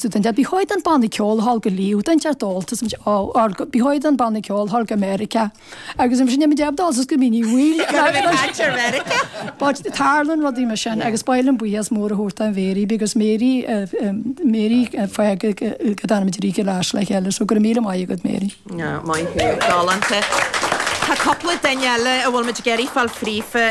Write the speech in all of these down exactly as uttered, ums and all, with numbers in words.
So den ba chóir an banna ceoil thall go Leo den dear dálta ba chóir an banna ceoil thall go America agus sin me deab dál go mí bhfuil But tarlaíonn rudaí mar sin agus bailim buíochas mór a thabhairt an Mary because Mary Mary fa go danimid leis le chéile so go míle maith agat Mary. Maith galánta. Tá cúpla duine eile a bhfuil muid ag iarraidh fáil fríofa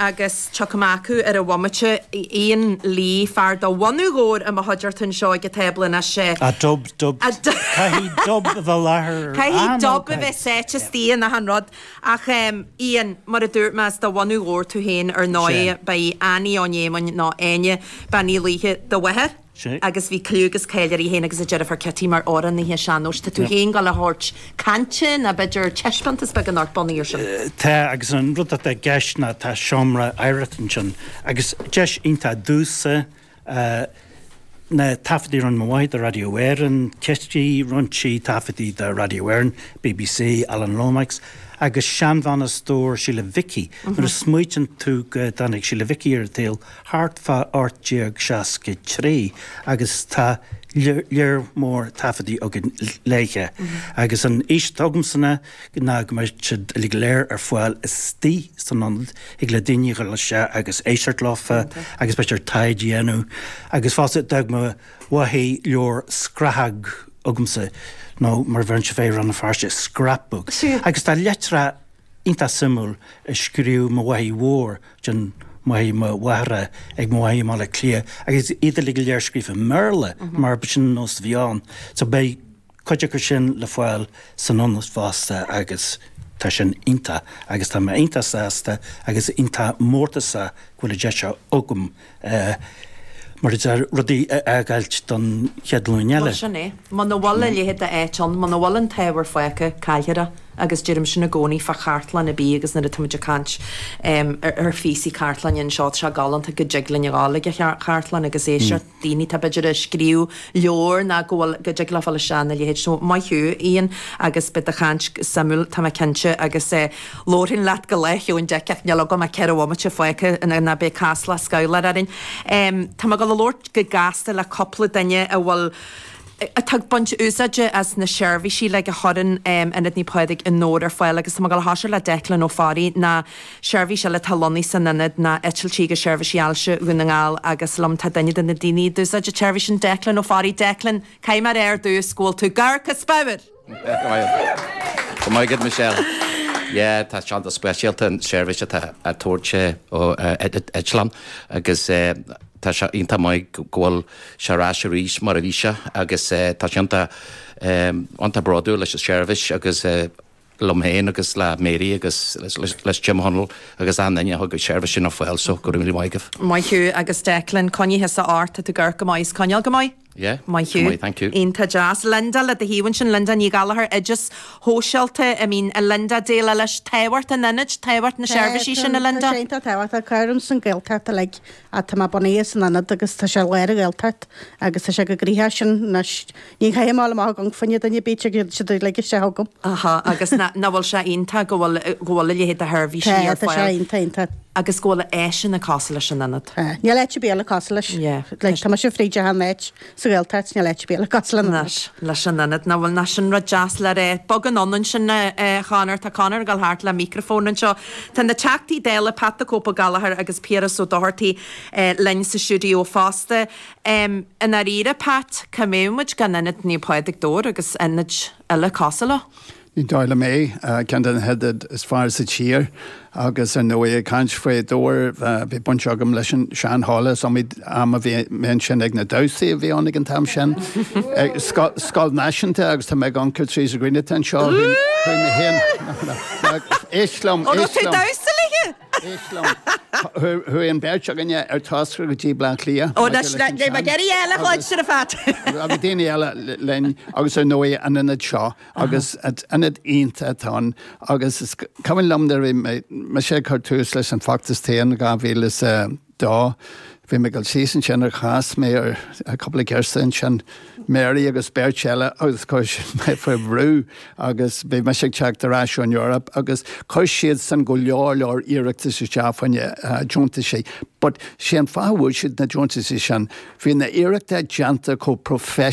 agus tiocfaidh mé acu ar an bhomaite Ian Lee fear de bhunadh Dhobhair i mo chuideachta anseo ag an tábla anois. A dub dub Caithfidh dub a bheith láthair. Caithfidh dub a bheith sáite istigh in achan rud. Ach Ian, mar a dúirt mé is de bhunadh Dhobhair tú féin ar ndóigh beidh Annie Ó Néamáin nó Áine Bean Uí Laoithe do mháthair. Agus bhí cliú agus cáil uirthi féin agus a deirfiúr Kitty mar amhránaithe sean-nóis. Tá tú féin ag gabháil a thabhairt cainte nó b'fhéidir taispeántas beag anocht bunaithe ar sin. Tá agus an rud atá i gceist ná tá seomra oidhreachta ansin agus deis iontach domhsa na taifeadtaí a rinne mo mháthair do Radio Éireann, Kitty, rinne sí taifeadtaí do Radio Éireann, BBC, Alan Lomax, agus seanbhean as Dobhar Síle Mhicí. Nuair a smaoitíonn tú go dtáinig Síle Mhicí ar an tsaol thart fá ocht déag seasca trí agus tá lear mór taifeadtaí againn léithe. Agus an fhís atá agamsa ná go mbeidh siad uilig go léir ar fáil istigh san ionad, thig le daoine a dhul isteach agus éisteacht leofa agus b'fhéidir taighde a dhéanamh. Agus fosta d'fhág mo mháthair leabhar scrathag agamsa nó mar a bheireann sé fé Rann na Feirste, scrapbook. Agus tá litreacha iontach suimiúil a scríobh mo mháthair mhór den mháthair mo mháthara ag mo mháthair i mBaile Átha Cliath agus iad uilig go léir scríofa i mBéarla mar b'shin an nós a bhí ann. So beidh cuid acu sin le fáil san ionad fosta agus tá sin iontach agus tá mé iontach sásta agus iontach mórtasach go bhfuil an deis seo agam mar a deir rudaí a fhágáilt don chéad ghlúin eile. Bhuel, sin é. Muna bhfuil a leithéid d'áit ann, muna bhfuil an t-ábhar fágtha, caillfear é. Agus deirim sin i gcónaí fá chartlann ar bith agus nuair atá muid ag caint ar phíosaí cartlainne anseo, tá sé galánta go dtig linn a ghabháil ag an chartlann agus éisteacht daoine atá b'fhéidir ag scríobh leabhar ná go bhfuil, go dtig leo fáil isteach ina leithéid. So, maith thú, Ian, agus beidh do chaint suimiúil, tá mé cinnte, agus labharfainn leat go lá Cheoin Dic ach níl agam ach ceithre bhomaite fágtha ná beidh Casla scamhlar orainn. Tá mé ag dul a labhairt go gasta le cúpla duine a bhfuil, atá ag baint úsáide as na seirbhísí uilig a chuireann Ionad Naomh Pádraig i nDobhar ar fáil agus tá mé ag dul a thoiseacht le Declan Ó Fearraigh ná seirbhís eile atá lonnaithe san ionad ná Eitiltí agus Seirbhísí Ailse Dhún na nGall agus liom tá duine de na daoine a d'úsáid an tseirbhís sin, Declan Ó Fearraigh. Declan, caithfidh mé a rá ar dtús go bhfuil tú gar go spiorad! Go maith agat Michelle. Yeah, tá sé an-speisialta an seirbhís atá á tabhairt ó Eitleán agus tá sé iontach maith go bhfuil sé ar ais arís mar a bhí sé agus tá sé iontach iontach bródúil leis an seirbhís agus liom féin agus le Mary agus leis Jim Hunnell agus achan duine a thug an seirbhís sin ar fáil so go raibh míle maith agaibh. Maith thú agus Declan, coinnigh thusa ort, tá tú ag amharc go maith is coinneáil go maith. Yeah, Maith thú. go maith, thank you. Iontach deas. Linda, le do thaobh ansin, Linda Ní Ghallchóir, Oideas Shóisialta, I mean, a Linda, déileáil leis tábhacht an ionaid, tábhacht na seirbhísí sin, a Linda? Tá sé iontach tábhachtach. Cabhraím san Gaeltacht uilig ach tá mé bunaithe san ionad agus tá sé i lár an Ghaeltacht agus tá sé go gnoitheach sin anois. Ní chaithfidh mé a dhul amach ag amharc fá choinne duine ar bith, tiocfaidh siad uilig isteach chugam. Aha, agus nach bhfuil sé iontach go bhfuil go bhfuil a leithéid de sheirbhísí Tá, ar tá sé fáil iontach, iontach. agus go bhfuil áiseanna cosúil leis an ionad. Tá. Níl áit ar bith eile cosúil leis. Yeah. Like, tá mise fríd achan áit sa Ghaeltacht, níl áit ar bith eile cosúil lena Leis, leis an ionad. Nach bhfuil, nach sin rud deas le rá. Bog anonn ansin, a Chonor. Tá Conor ag dul thart le micreafón anseo. Tá na Teachtaí Dála, Pat the Cope Ó Gallchóir agus Piaras Ó Dochartaigh linn sa stiúideo fosta. I ndáiríre, Pat, cá mbeadh muid gan Ionad Naomh Pádraig Dobhair agus ionaid eile cosúil leo? Ní dóigh liom é, ceann de na hionaid is fearr sa tír agus ar ndóigh ag caint faoi Dobhar, bhí baint agam leis an sean-halla, is iomaí am a bhí mé ansin ag na damhsaí a bhí ann ag an t-am sin. Scoil náisiúnta agus tá mé ag amharc ar Teresa Greene atá anseo, chuaigh mé féin, éist liom, éist liom. Damhsa léi? Éist liom. Chuaigh an bheirt againne ar toscaire go dtí Bleá Cliath. Ó, anois, níl mé ag iarraidh eile a chloisteáil ar fad. Agus daoine eile linn agus ar ndóigh an ionad seo agus ionad iontach atá ann agus is cuimhin liom nuair a bhí mise ag cur tús leis an bhfeachtas tithe in dhá mhíle is a dó, Bhí mé ag dul síos ansin ar chas mé ar cúpla girseach ansin, Mary agus beirt eile agus chuir siad mé faoi bhrú agus bhí mise ag teacht ar ais ón Eoraip agus chuir siad san go leor leor iarratas isteach fá choinne deontaisí. But sé an fáth a bhfuair siad na deontaisí sin, bhí na iarrachtaí déanta chomh professional